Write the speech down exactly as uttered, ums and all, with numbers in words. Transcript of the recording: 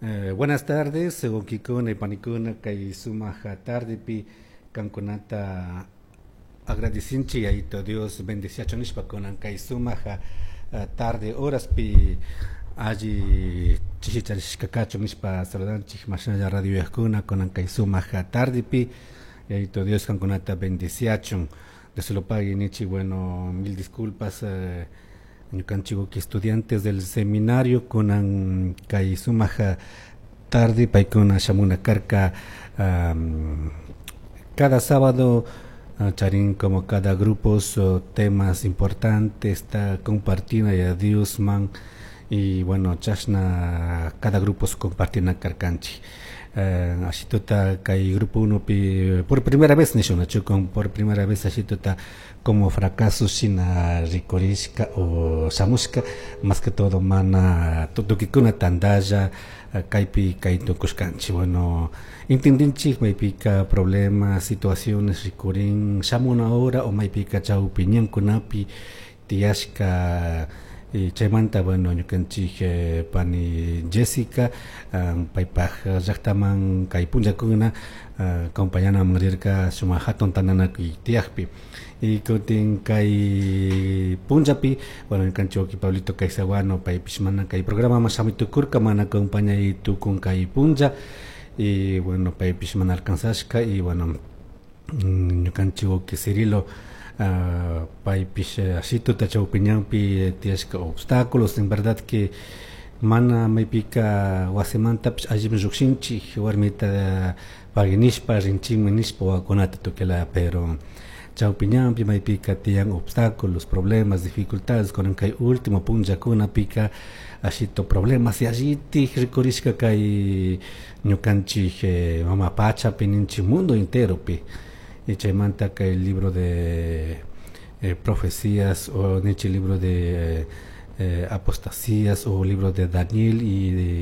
Eh, buenas tardes, huaquicuna y panicuna, kay sumac tardepi kankunata agradecinchik Yayito Dios bendeciachun nishpa kunan kay sumac tarde horaspi alli chishi charishka kachun nishpa saludanchik mashnalla radio uyajkuna kunan kay sumac tardepi Yayito Dios kankunata bendeciachun. Dios se lo pague nichi. Bueno, mil disculpas, eh, ñukanchik estudiantes del seminario kunan kay sumac tarde paykuna shamuna karka. um, cada sábado uh, charin como cada grupo temas importantes está compartina ya Dios man y bueno, chashna cada grupo compartina karkanchik. uh, ashituta kay grupo uno pi por primera vez nishun con por primera vez ashituta como fracaso shina rikurishka o shamushka, más que todo mana tukikuna tandalla kaypi kay tukushkanchik. Bueno, entendinchik maypika problemas, situaciones rikurin shamuna hora o maypika chawpi ñankunapi tiyashka. Y chaymanta, bueno, ñukanchik eh, pani Jessica um, paypaj llaktaman kay punllakuna uh, acompañanaman rirka sumak hatun tantanakuy tiyakpi. Y kutin kay punllapi, bueno, ñukanchik wawki Pablito Caizaguano paypish mana kay programaman shamuy tukurka, mana acompañay tukun kay punlla y bueno, paypish mana alcanzashka. Y bueno, ñukanchik wawki Cirilo uh, paypish ashituta chawpi ñanpi tiyashka obstáculos. En verdad que mana maypika wasimantapish allimi llukshinchik warmita pagui nishpa rinchikmi nishpa wawakunata tukuyla, pero chawpi ñanpi maypika tiyan obstáculos, problemas, dificultades. Kunan kay último punllakunapika ashito problemas yallitik rikurishka kay ñukanchik eh, mama pachapi ninchik, mundo enteropi. Y chaymanta kay libro de eh, profecías o ninchik libro de eh, apostasías o libro de Daniel y de